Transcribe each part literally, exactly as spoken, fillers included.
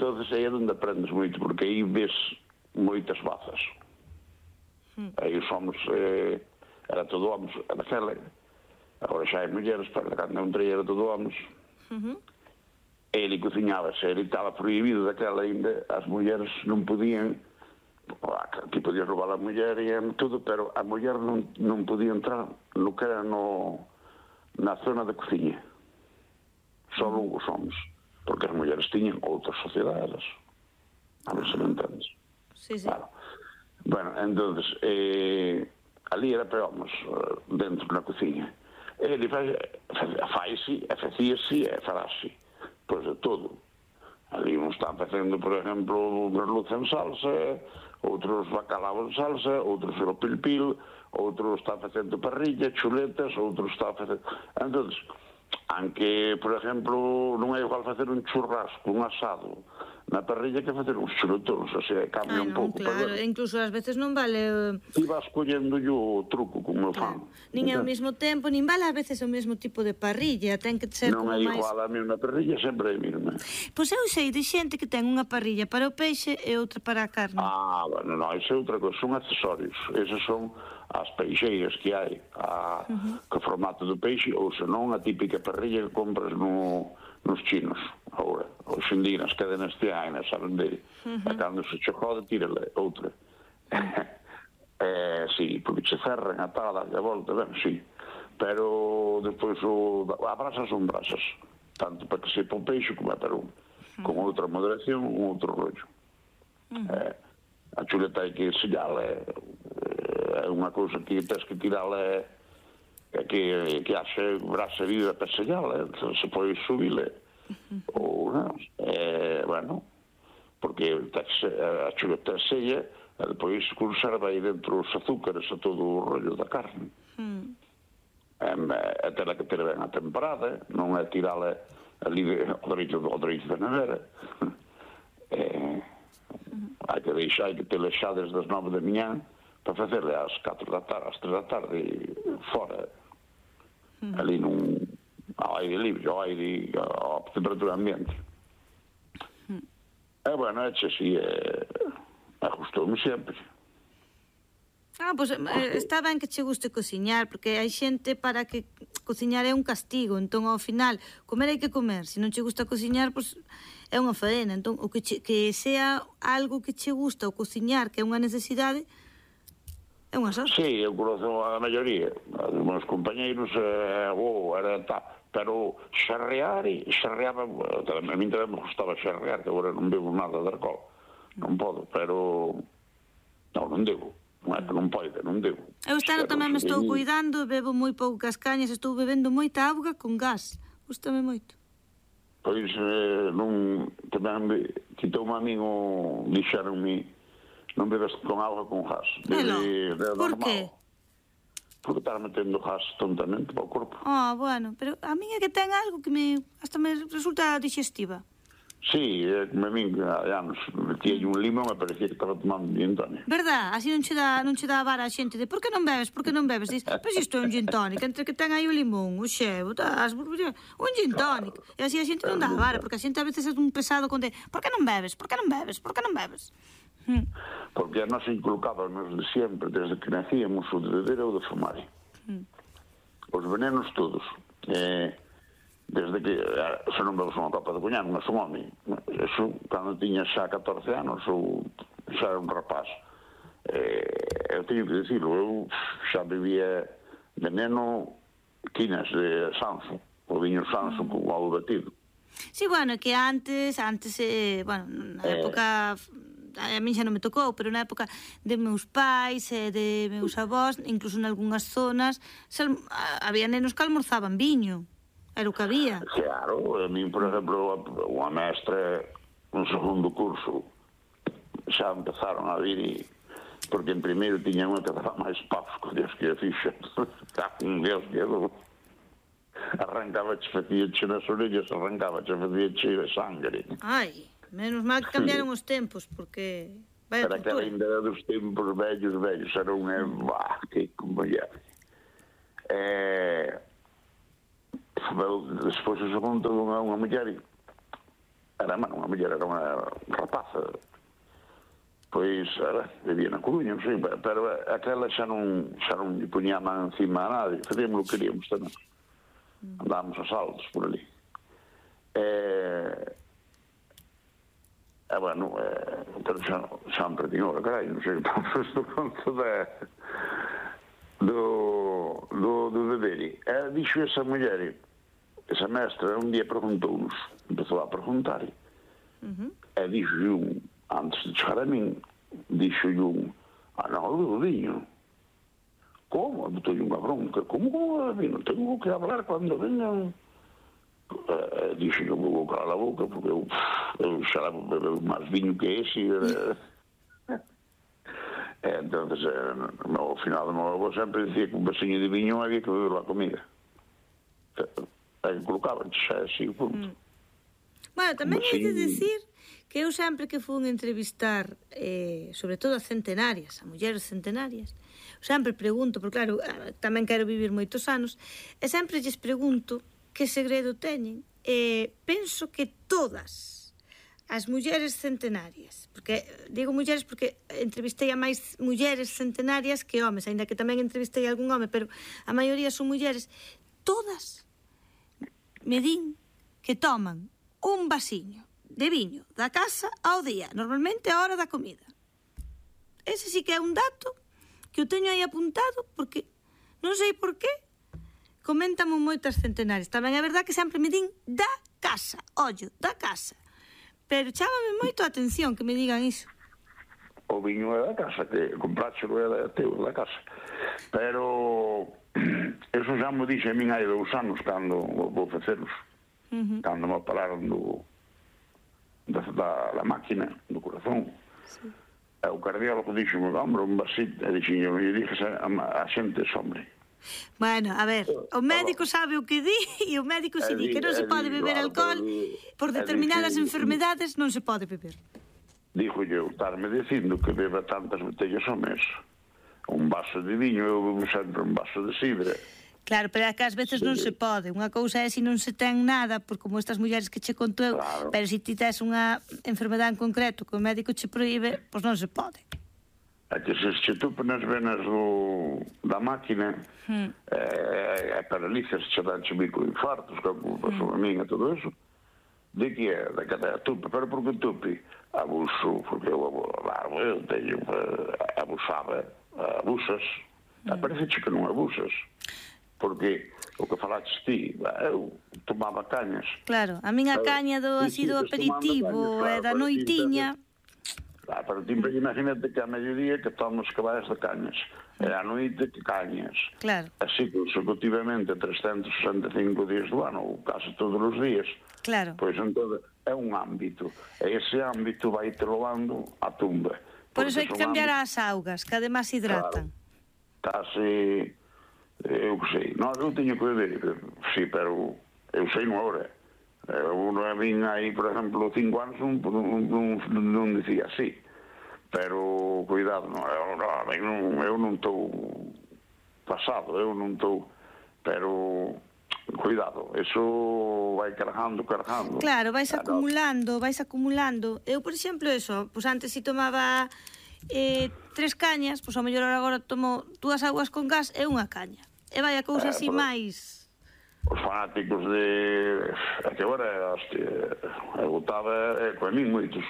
entonces aí é onde aprendes moito, porque aí ves moitas bazas. Mm. Aí somos, eh, era todo homens, daquela, agora xa hai mulleres, pero cando entrei era todo homens. Uh-huh. Ele cociñábase, ele estaba prohibido daquela ainda, as mulleres non podían, que podía roubar a muller e tudo, pero a muller non, non podía entrar no que era no, na zona de cociña. Só uh-huh. os homens, porque as mulleres tiñan outras sociedades. A ver se me entendes. Sí, sí. Claro. Bueno, entonces, eh, ali era para homens, dentro na cociña. Ele faz, faz-se, facía-se e fará-se, pois de todo. Ali uns están facendo, por exemplo, merluza en salsa, outros bacalao en salsa, outros filopilpil, outros están facendo parrilla, chuletas, outros están facendo... Entón, aunque, por exemplo, non é igual facer un churrasco, un asado na parrilla que facer uns chuletóns, o sea, cambia un pouco. Claro, incluso ás veces non vale... Ti vas collendo o truco como fan. Nin é ao mesmo tempo, nin vale ás veces o mesmo tipo de parrilla, ten que ser como máis... Non é igual a mesma parrilla, sempre é a mesma. Pois eu sei de xente que ten unha parrilla para o peixe e outra para a carne. Ah, bueno, non, iso é outra cosa, son accesorios. Eses son as peixeiras que hai, a, uh-huh. que formato do peixe, ou senón a típica parrilla que compras no, nos chinos, agora, hoxe en día, nas cadenas que hai, nas saben de, uh-huh. a cando se che jode, tírale outra. eh, sí, porque che cerran a tal, a volta, ben, sí, pero depois o, a brasas son brasas, tanto para que sepa o peixe como é para un, uh-huh. con outra moderación, un outro rollo. Uh-huh. Eh, a chuleta hai que sellala, é, é unha cousa que tens que tirala, é que, que haxe brasa viva para sellala, entón se pode subile, uh-huh. ou non, é, bueno, porque a chuleta sella, e depois conserva aí dentro os azúcares e todo o rollo da carne. Uh-huh. É, é tela que ter ben a temperada, non é tirala ali ao dereito da nevera. É... Uh-huh. Hai que deixar, hai que ter xa desde as nove da manhã para facerle às catro da tarde, às tres da tarde, fora, uh-huh. ali num, ao aire livre, ao aire, à temperatura ambiente. Uh-huh. É, bueno, é así, é, ajustou-me sempre. Ah, pois pues, está ben que che guste cociñar, porque hai xente para que cociñar é un castigo, entón ao final comer hai que comer, se non che gusta cociñar, pois pues, é unha faena, entón o que, che, que sea algo que che gusta o cociñar, que é unha necesidade, é unha sorte. Sí, eu conozco a maioría, os meus compañeiros, eh, oh, era tal, pero xarrear, e xarreaba, a mí tamén me gustaba xarrear, que agora non bebo nada de alcohol, non podo, pero non, non devo. Non é que non pode, non devo. Eu este ano tamén me estou cuidando, bebo moi poucas cañas, estou bebendo moita auga con gas, gustame moito. Pois, eh, non, tamén quitoume a min o, dixeronme, non bebes con auga con gas. Bebe, de, de por normal. Que? Porque estar metendo gas tontamente para o corpo. Ah, bueno, pero a min é que ten algo que me, hasta me resulta digestiva. Sí, é como a min, há anos, metía un limón e parecía que estaba tomando un gin tonic. Verdad? Así non che dá, non che dá a vara a xente de por que non bebes, por que non bebes? Diz, pois isto é un gin tonic, entre que ten aí o limón, o xevo, das, un gin tonic. Claro. E así a xente non dá a vara, porque a xente a veces é un pesado con de por que non bebes, por que non bebes, por que non bebes? Hmm. Porque a nos inculcábamos de sempre, desde que nacíamos, o de beber ou de fumar. Hmm. Os venenos todos. Eh... desde que, se non bebes unha copa de coñac, non é un home. Eso, cando tiña xa catorce anos, ou xa era un rapaz. Eh, eu teño que dicirlo, eu xa bebía veneno quinas de Sanso, o viño Sanso con ovo batido. Sí, bueno, que antes, antes, eh, bueno, na época... a mí xa non me tocou, pero na época de meus pais e de meus avós, incluso en algunhas zonas, había nenos que almorzaban viño. Era o que había. Claro, a mí, por exemplo, unha mestra, un segundo curso, xa empezaron a vir e... porque en primeiro tiña unha que daba máis pavos que Dios que a fixa. Un Dios que eu... arrancaba che, facía che nas orellas, arrancaba che, facía che de sangre. Ai, menos mal que cambiaron os tempos, porque... Para que ainda era dos tempos vellos, vellos, era unha... Bah, que como ya... Eh... despois o segundo unha, unha muller era, mano, unha muller, era unha rapaza, pois, era, vivía na Coruña, non sei, pero aquela xa non, xa non lle poñía a man encima a nadie, facíamos o que queríamos tamén. Andábamos a saltos por ali. E, e bueno, eh, pero xa, xa me perdín ahora, carai, non sei, do conto de, do, do, do deber. E dixo esa muller, esa mestra, un día preguntounos, empezou a preguntar, uh-huh. E dixo un, antes de chegar a min, dixo un, ah, non, do viño. Como? Botou unha bronca. Como, como, viño? Tengo que hablar cando vengan. Eh, dixo que vou calar a boca, porque eu, eu xa bebeu máis viño que ese. Eh, entón, eh, no, ao final do meu avó sempre dicía que un vasiño de viño había que beber a comida. Aí colocaban xa así, punto. Mm. Bueno, tamén hai de dicir que eu sempre que fun entrevistar, eh, sobre todo a centenarias, a mulleres centenarias, sempre pregunto, porque claro, tamén quero vivir moitos anos, e sempre lles pregunto que segredo teñen. E penso que todas as mulleres centenarias, porque digo mulleres porque entrevistei a máis mulleres centenarias que homes, aínda que tamén entrevistei a algún home, pero a maioría son mulleres, todas me din que toman un vasiño de viño da casa ao día, normalmente a hora da comida. Ese sí que é un dato que eu teño aí apuntado, porque non sei por qué coméntame moitas centenarias. Tamén é verdad que sempre me din da casa, ollo, da casa. Pero chámame moito a atención que me digan iso. O viño é da casa, que compráchelo é da teu, da casa. Pero eso xa me dixe a min hai dous anos cando vou faceros. Uh-huh. Cando me pararon do, da, da, da máquina, do corazón. Sí. E o cardiólogo dixo, hombre, un vasito, e dixo, e dixo a, a xente es hombre. Bueno, a ver, o médico sabe o que di e o médico se di que non se pode beber alcohol por determinadas enfermedades, non se pode beber. Dijo eu, estarme dicindo que beba tantas botellas ao mes, un vaso de viño, eu bebo sempre un vaso de sidra. Claro, pero é que ás veces non se pode. Unha cousa é se non se ten nada, por como estas mulleres que che conto eu, claro. Pero se ti tes unha enfermedade en concreto que o médico che proíbe, pois non se pode. É que se che tupe nas venas do, da máquina, hmm. é, é paralizas, che dan che microinfartos, que pasou hmm. a min e todo eso, de que é, de que é tupe, pero por que tupe? Abuso, porque eu, eu teño, abusaba, abusas, hmm. parece que non abusas. Porque o que falaches ti, eu tomaba cañas. Claro, a miña caña do así do aperitivo e da noitiña. Claro, pero ti imagínate que a mediodía que tomamos caballas de cañas, e a noite que cañas. Claro. Así consecutivamente trescentos sesenta e cinco días do ano, ou case todos os días. Claro. Pois entón é un ámbito, e ese ámbito vai te levando a tumba. Por iso hai que cambiar as augas, que además hidratan. Claro, case... Eu sei, non, eu teño que beber, sí, pero eu sei non agora. Eu non vin aí, por exemplo, cinco anos, non, non, non dicía así. Pero, cuidado, non, eu, non, eu non estou pasado, eu non estou, pero, cuidado, eso vai cargando, cargando. Claro, vais acumulando, vais acumulando. Eu, por exemplo, eso, pois antes si tomaba eh, tres cañas, pois ao mellor agora tomo dúas augas con gas e unha caña. E vai a cousa así máis... Os fanáticos de... É que agora, hostia, eu botaba, é, coa min moitos.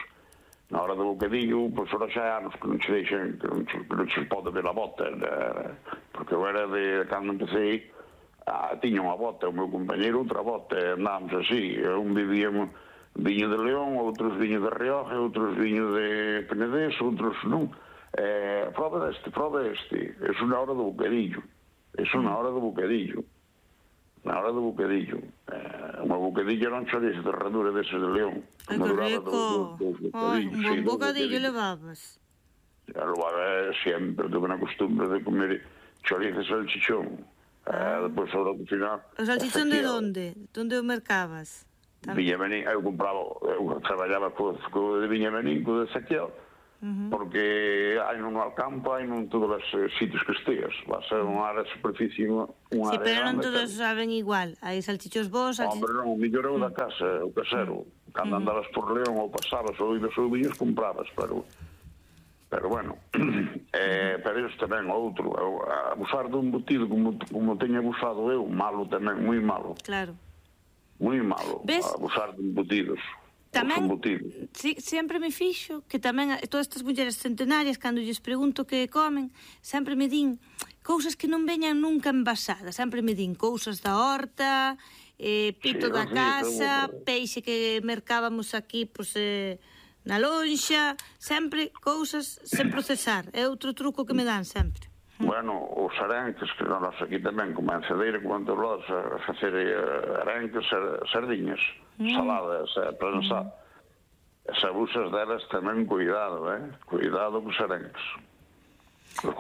Na hora do bocadillo, pois ora xa hai anos que non che deixen, que non che, que non che pode ver a bota, né? Porque eu era de, cando empecé, ah, tiña unha bota, o meu compañeiro outra bota, e andábamos así, un vivíamos viño de León, outros viño de Rioja, outros viño de Penedés, outros non. Eh, prova deste, prova deste, eso na hora do bocadillo. Eso na hora do bocadillo. Na hora do bocadillo. Eh, unha bocadillo non chorizo de herradura deses de León. Ai, que rico! Ai, un bon bocadillo levabas. Ya levaba sempre, tuve na costumbre de comer chorizo e salchichón. Eh, depois, ahora, ao final... O salchichón de onde? Donde o mercabas? Viña Benín, eu compraba, eu traballaba co, co de Viña Benín, co de Saquiel, porque hai nun Alcampo, hai nun todos os sitios que esteas. Va a ser unha área de superficie, unha Sí, área pero non grande. todos saben igual. Hai salchichos vos, Hombre, non, mellor eu da casa, o casero. Cando andabas por León ou pasabas ou ibas ou viños, comprabas, pero... Pero bueno, eh, pero isto tamén outro, abusar do embutido como, como teño abusado eu, malo tamén, moi malo. Claro. Moi malo, Ves? abusar de embutidos. Tamén, si, sempre me fixo que tamén todas estas mulleres centenarias, cando lles pregunto que comen, sempre me din cousas que non veñan nunca envasadas, sempre me din cousas da horta, eh, pito Sí, da sí, casa, seguro. peixe que mercábamos aquí, pois, eh, na lonxa, sempre cousas sen procesar. É outro truco que me dan sempre. Bueno, os arenques, que nós aquí tamén, como en Cedeira, como en Torlosa, a facer eh, arenques, eh, sardiñas, mm. saladas, eh, prensar. Mm. Se abusas delas tamén, cuidado, eh? Cuidado cos arenques.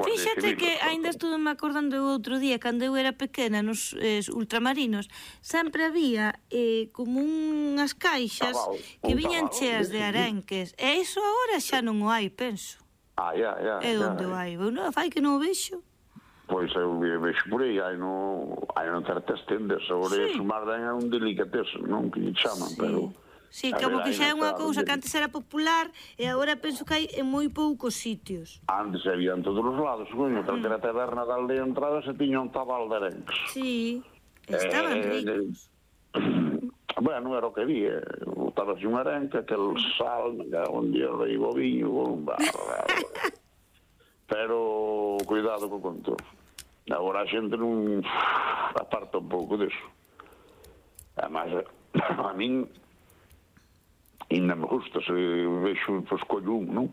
Fíxate que ainda estuve me acordando o outro día, cando eu era pequena nos eh, ultramarinos, sempre había eh, como unhas caixas tabal, que un viñan tabal, cheas de sí. arenques. E iso agora xa non o hai, penso. Ah, ya, ya. É onde o hai? Non, fai que non o vexo. Pois eu vexo por aí, hai no, hai no certas tendas, agora sí. O sumar é un delicatessen, non que lle chaman, sí. pero... Sí, como que xa é unha cousa que antes era popular e agora penso que hai en moi poucos sitios. Antes había en todos os lados, coño, calquera mm. taberna da aldea entrada se tiña un tabal de arenques. Sí, estaban eh, ricos. Eh, bueno, era o que había, botabas un arenque, aquel sal, onde era aí o viño, un bar, pero cuidado co control. Agora a xente non aparta un pouco disso. Además, a min ainda me gusta, se vexo, pois, collo un, non?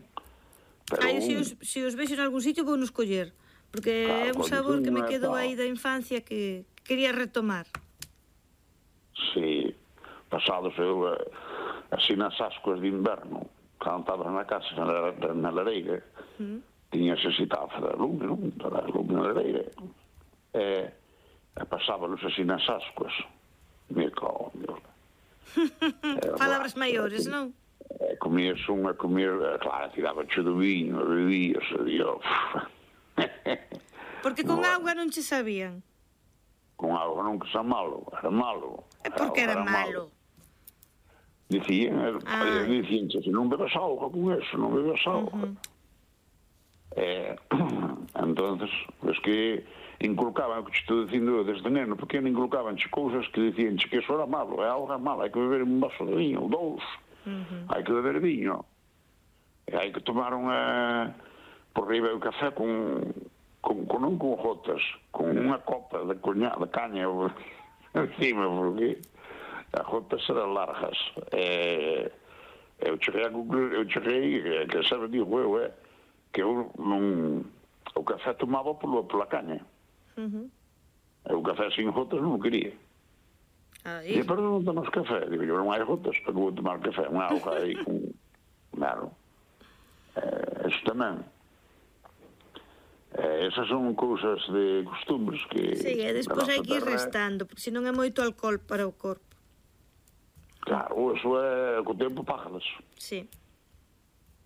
Pero Ai, un... se, os, se os vexo en algún sitio, vou nos coller, porque claro, é un sabor que me quedou aí da infancia que quería retomar. Sí, pasados eu, así nas ascuas de inverno, cando estabas na casa, na, na lareira, mm. tiñas ese tafa de lume, non? Da lume na lareira. E, e pasábalos así nas ascuas. Me cago, Dios. Palabras maiores, non? E comías unha, comías, claro, tiraba che do viño, bebías, e Dios. Porque con bueno. auga non che sabían? Con auga non que sa malo, era malo. E por que era, era malo? malo? Dicían, ah. dicían, se non bebas auga con eso, non bebas auga. Uh -huh. eh, entonces, pues que inculcaban, que te estou dicindo desde neno pequeno, inculcaban che cousas que dicían che que eso era malo, é algo malo, hai que beber un vaso de viño, ou dous, uh -huh. hai que beber viño, e hai que tomar unha, por riba o café con, con, con non con gotas, con unha copa de, coña, de caña encima, porque as gotas eran largas, e eu cheguei a concluir, eu cheguei, que sabe, digo eu, é, que eu non, o café tomaba pola, pola caña. Uh -huh. O café sin gotas non o quería. E pero non tomas café. Digo, eu non hai gotas, pero vou tomar café. Unha auga aí con... Claro. Eh, eso tamén. Eh, esas son cousas de costumbres que... Sí, e despois hai que ir restando, porque senón é moito alcohol para o corpo. Claro, eso é... Co tempo págalas. Sí.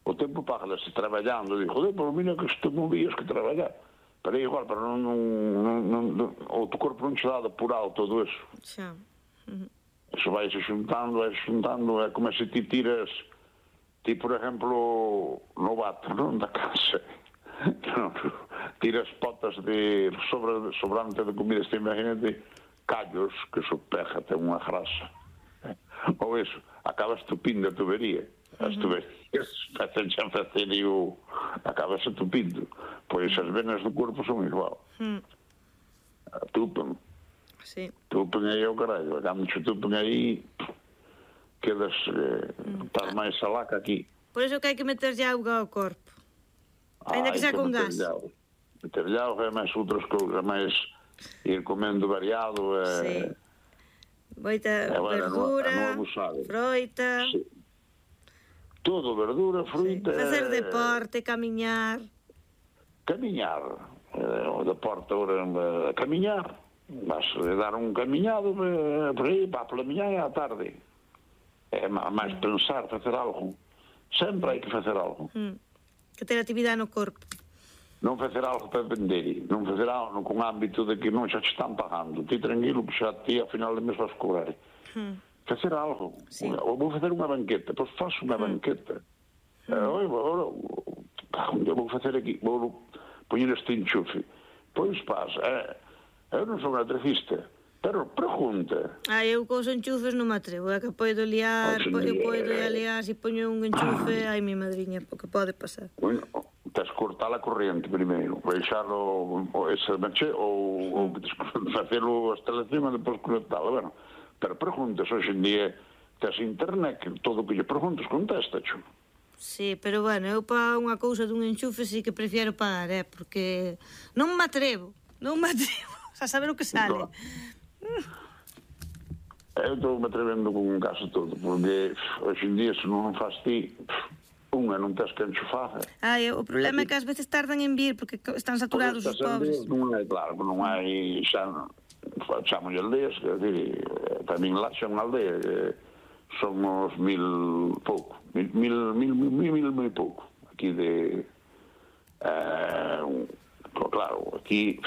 O tempo págalas traballando. Digo, joder, por mira que estou movías que traballar. Pero é igual, pero non, non, non, non, o teu corpo non che dá depurado todo eso. Xa. Uh -huh. Eso vai se xuntando, vai se xuntando, é como se ti tiras, ti, por exemplo, no vato, non, da casa, non, tiras potas de sobra, sobrante de comida, este, imagínate, callos, que sopeja, ten unha grasa. Ou eso, acabas tupindo a tubería. As tuberías, facen xa facer e o... acabas tupindo. Pois as venas do corpo son igual. Mm. Tupen. Sí. Tupen aí ao carallo. Cando che tupen aí, quedas... Eh, mm. Estás máis salaca aquí. Por iso que hai que meterlle auga ao corpo. Ainda ah, que xa con gas. Meterlle auga e máis outras cousas, máis ir comendo variado. Eh, sí. Moita eh, bueno, verdura, no, no froita... Sí. Todo, verdura, fruta... Sí. Facer deporte, camiñar... Camiñar. Eh, o deporte agora... Eh, camiñar. Vas a dar un camiñado eh, por aí, para pola miñá e á tarde. É máis pensar, facer algo. Sempre hai que facer algo. Mm. que ter actividade no corpo. Non facer algo para vender, non facer algo con ámbito de que non xa te están pagando. Ti tranquilo, que xa ti a final de mes vas cobrar. Hmm. Facer algo. Sí. Ou vou facer unha banqueta, pois faz unha hmm. banqueta. Hmm. Eh, ora, vou facer aquí, vou poñer este enchufe. Pois pasa, eh, eu non sou un electricista, pero pregunta. Ah, eu cos enchufes non me atrevo, é que podo liar, po, eu podo liar, se poño un enchufe, ai mi madriña, porque pode pasar. Bueno, tens que cortar a corriente primeiro, deixarlo ese manche ou, ou facelo a instalación e depois conectalo, bueno, pero preguntas, hoxe en día tes internet, que todo o que lle preguntas contesta, xo. Sí, pero bueno, eu para unha cousa dun enchufe sí que prefiero pagar, eh, porque non me atrevo, non me atrevo a saber o que sale. Eu estou me atrevendo con un caso todo, porque hoxe en día se non faz ti, unha non tens que enchufar. Ai, o problema é que ás veces tardan en vir porque están saturados os pobres. Non hai, claro, non hai xa, chamamos aldeas, que decir, para min lá xa unha aldea, somos mil pouco, mil, mil, mil, mil, mil, mil pouco, aquí de, eh, claro, aquí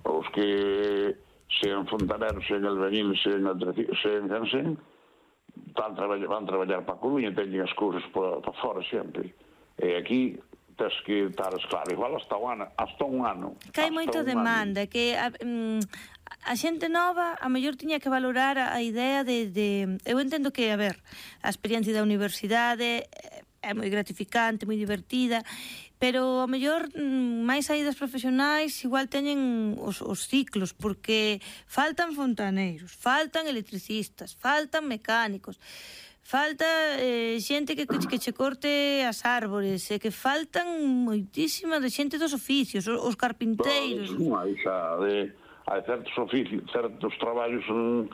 os que sean fontaneros, sean albañiles, sean sean cansen, van traballar, van traballar para a Coruña, teñen as cousas para, para fora sempre. E aquí tens que estar claro, igual hasta un ano, hasta un ano. Que hai moita demanda, ano. que a, mm, a xente nova a mellor tiña que valorar a, a idea de, de... Eu entendo que, a ver, a experiencia da universidade é moi gratificante, moi divertida, pero a mellor máis saídas profesionais igual teñen os, os ciclos, porque faltan fontaneiros, faltan electricistas, faltan mecánicos, falta eh, xente que, que che corte as árbores, e que faltan moitísima de xente dos oficios, os, os carpinteiros. Non hai xa, de, hai certos oficios, certos traballos en,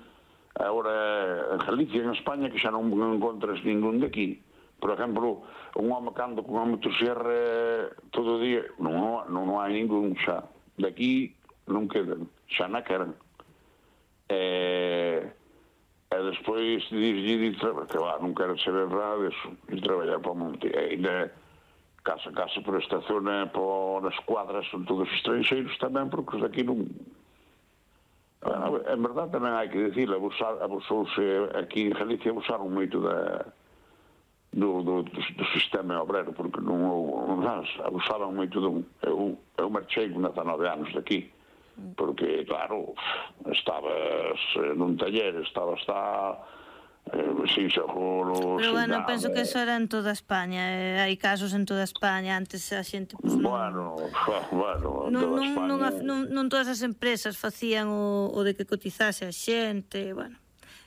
agora en Galicia, en España, que xa non encontras ningún de aquí. Por exemplo, un home cando con a motosierra todo o día, non, non, non hai ningún xa. De aquí non quedan, xa na quedan. E, e despois dixlle que va, non quero saber nada deso, e traballar para o monte. E ainda casa a casa por esta zona, por as cuadras, son todos estranxeiros tamén, porque os daqui non... En verdade tamén hai que dicir, abusouse aquí en Galicia, abusaron moito da... Do, do, do sistema obrero, porque non, non abusaban moito dun. Eu, eu marchei con dezanove anos daqui, porque, claro, estabas nun taller, estabas hasta eh, sin seguro... Pero, bueno, nada. Penso que eso era en toda España, eh, hai casos en toda España, antes a xente... Pues, bueno, non, bueno, en non, toda non, España... Non, non, non todas as empresas facían o, o de que cotizase a xente, bueno...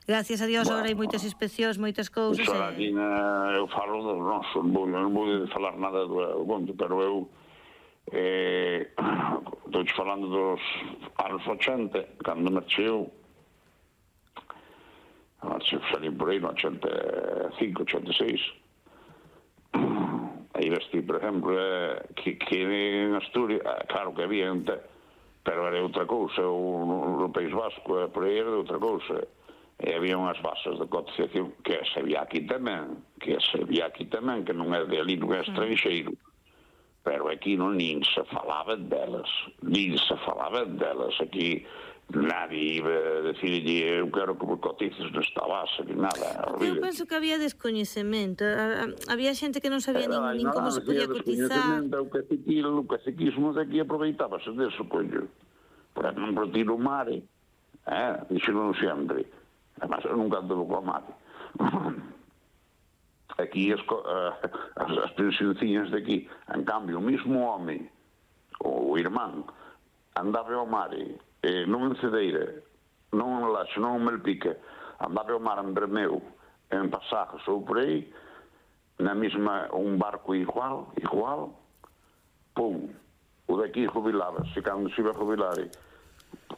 Gracias a Dios, bueno, agora hai moitas inspeccións, moitas cousas. Eso, e... aquí na, eu falo do noso, non vou, non vou falar nada do, do conto, pero eu eh, estou falando dos anos ochenta, cando marcheu, marcheu, salí por aí no ochenta e cinco, ochenta e seis. Aí vesti, por exemplo, eh, que, que en Asturias, eh, claro que había, pero era outra cousa, o, no País Vasco, por aí era outra cousa. E había unhas bases de cotización que se había aquí tamén, que se había aquí tamén, que non é de ali, non é estranxeiro, pero aquí non nin se falaba delas, nin se falaba delas. Aquí nadie iba a decirlle, eu quero que me cotices nesta base, ni nada. Eu penso que había descoñecemento, había xente que non sabía nin, nin como se podía cotizar. O caciquismo, o caciquismo daqui aproveitábase deso, coño. Por exemplo, tiro o mare, eh, dixo non sempre. Además, eu nunca ando co mate. Aquí as, as, as pensionciñas de aquí, en cambio, o mismo home, o irmán, andaba ao mare, eh, non en Cedeira, non en Laxo, non en Melpica, andaba ao mar en Bermeo, en Pasajes ou por aí, na mesma, un barco igual, igual, pum, o daqui jubilábase, cando se iba a jubilar,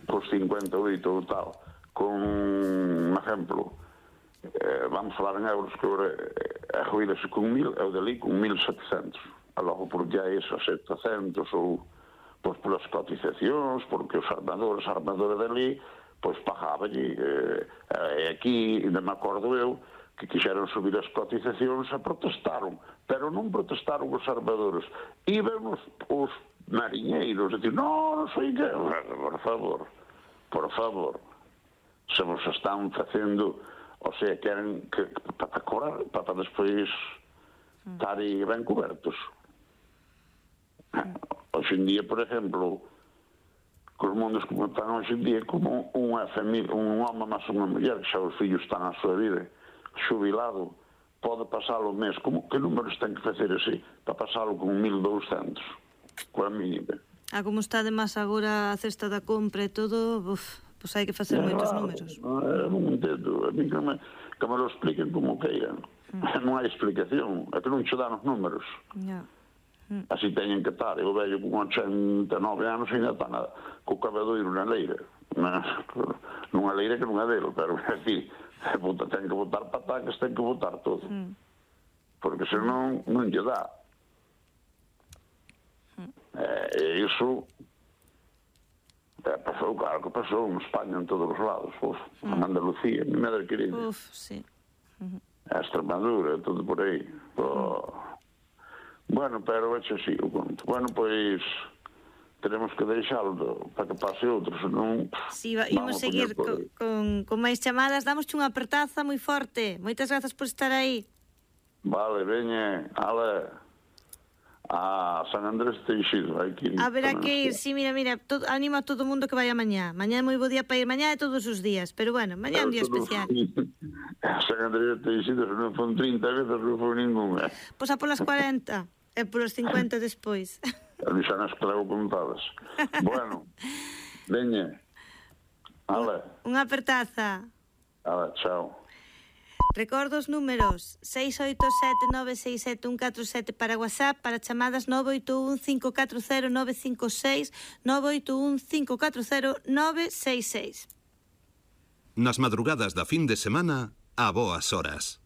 por cincuenta e oito ou tal, con un exemplo, eh, vamos falar en euros, que agora a jubilase con mil, eu dali con mil setecentos, e logo por ya iso a setecentos, ou pois polas cotizacións, porque os armadores, a armadora dali, pois pagaballe, eh, e aquí, ainda me acordo eu, que quixeron subir as cotizacións e protestaron, pero non protestaron os armadores. Iban os, os mariñeiros a decir, non, non sei que, por favor, por favor, se vos están facendo, o sea, queren que, para cobrar, para despois estar aí ben cobertos. Hoxe en día, por exemplo, cos mundos como están hoxe en día, como unha familia, un home máis unha muller, que xa os fillos están á súa vida, xubilado, pode pasar o mes, como que números ten que facer así, para pasalo con mil douscentos, coa mínima. Ah, como está de máis agora a cesta da compra e todo, uf, pois hai que facer moitos números. Non entendo, a mí que me, que me lo expliquen como queiran. Non hai explicación, é que non che dan os números. Yeah. Mm. Así teñen que estar, eu vello con ochenta e nove anos e ainda está na, co cabedoiro na leira, na, nunha leira que non é dele, pero é dicir, ten que botar patacas, ten que botar todo, mm. porque senón non lle dá. Mm. E iso é, pasou, claro que pasou en España en todos os lados, uf, mm. en Andalucía, mi madre querida, uf, sí. Uh-huh. A Extremadura, todo por aí. Oh. Mm. Bueno, pero é así o conto. Bueno, pois tenemos que deixalo para que pase outro, senón... Si, sí, imos seguir con, con, con máis chamadas. Damosche unha apertaza moi forte. Moitas grazas por estar aí. Vale, veñe, ale, a San Andrés Teixido. A ver, a que ir, sí, mira, mira, todo, animo a todo o mundo que vaya mañá. Mañá é moi bo día para ir, mañá é todos os días, pero bueno, mañá é un día especial. San Andrés Teixido, se non fon trinta veces, non fon ninguna. Pois a polas cuarenta. E por os cincuenta despois. A mí xa nas trago contadas. Bueno, veñe. Ale. Unha apertaza. Ale, chao. Recordo os números seis oito sete nove seis sete un catro sete para WhatsApp, para chamadas nove oito un cinco catro cero nove cinco seis, nove oito un cinco catro cero nove seis seis. Nas madrugadas da fin de semana, a boas horas.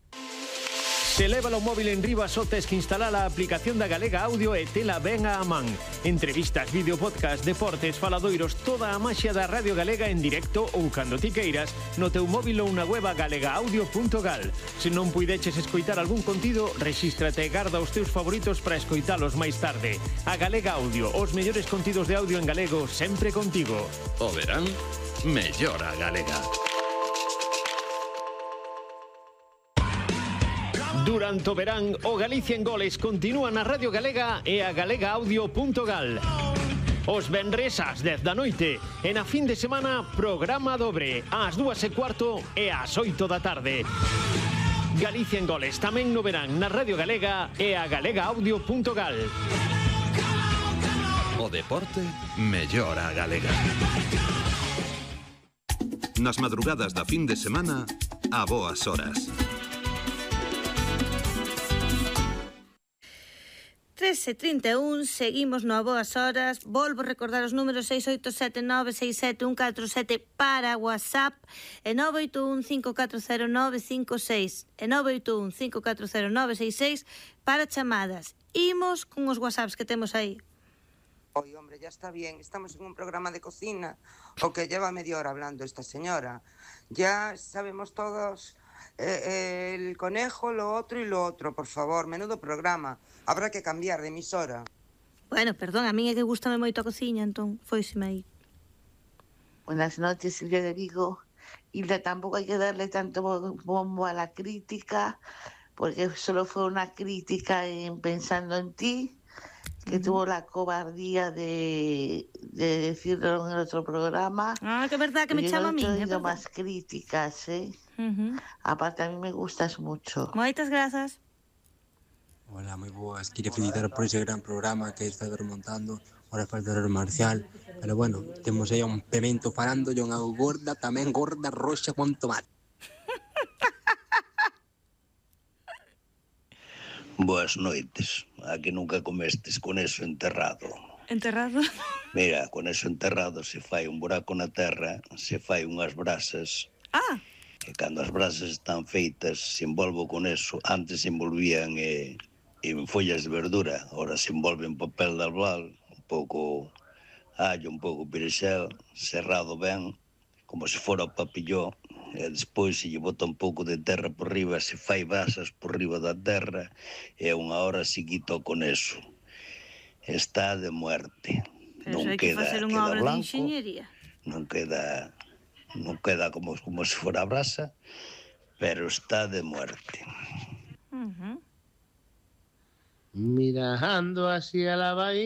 Se leva o móvil en riba só tes que instalar a aplicación da Galega Audio e tela ben a man. Entrevistas, vídeo, podcast, deportes, faladoiros, toda a maxia da Radio Galega en directo ou cando ti queiras no teu móvil ou na web galega audio punto gal. Se non puideches escoitar algún contido, rexístrate e garda os teus favoritos para escoitalos máis tarde. A Galega Audio, os mellores contidos de audio en galego sempre contigo. O verán, mellora Galega. Durante o verán, o Galicia en Goles continúa na Radio Galega e a galega audio punto gal. Os venres ás dez da noite e na fin de semana programa dobre ás dúas e cuarto e ás oito da tarde. Galicia en Goles tamén no verán na Radio Galega e a galega audio punto gal. O deporte mellora Galega. Nas madrugadas da fin de semana, a boas horas. trece e trinta e un, seguimos no a boas horas. Volvo a recordar os números seis oito sete nove seis sete un catro sete para WhatsApp e nove oito un cinco catro cero nove cinco seis e nove oito un cinco catro cero nove seis seis para chamadas. Imos con os WhatsApps que temos aí. Oye, hombre, ya está bien, estamos en un programa de cocina, o que lleva media hora hablando esta señora. Ya sabemos todos eh, el conejo, lo otro y lo otro, por favor, menudo programa. Habrá que cambiar de emisora. Bueno, perdón, a mí é que gustame moito a cociña, entón foiseme aí. Buenas noches, Silvia de Vigo. Hilda, tampoco hay que darle tanto bombo a la crítica, porque solo fue una crítica en Pensando en Ti, que uh-huh. tuvo la cobardía de, de decirlo en el otro programa. Ah, que verdad, que me chama a mí. Yo he tenido más críticas, ¿eh? Uh-huh. Aparte, a mí me gustas mucho. Moitas grazas. Hola, moi boas. Quería felicitar por ese gran programa que está remontando. Ahora falta o marcial. Pero bueno, temos aí un pemento parando e unha gorda, tamén gorda roxa con tomate. Boas noites. A que nunca comestes con eso enterrado. Enterrado? Mira, con eso enterrado se fai un buraco na terra, se fai unhas brasas. Ah. E cando as brasas están feitas, se envolvo con eso. Antes se envolvían eh, en follas de verdura, ahora se envolve en papel de albal, un pouco allo, un pouco perexel, cerrado ben, como se fora o papilló, e despois se lle bota un pouco de terra por riba, se fai basas por riba da terra, e unha hora seguito con eso. Está de muerte. Pero non hai que queda, facer unha queda obra blanco, de enxeñería. non queda, non queda como, como se fora brasa, pero está de muerte. Uh -huh. Mirando hacia la bahía.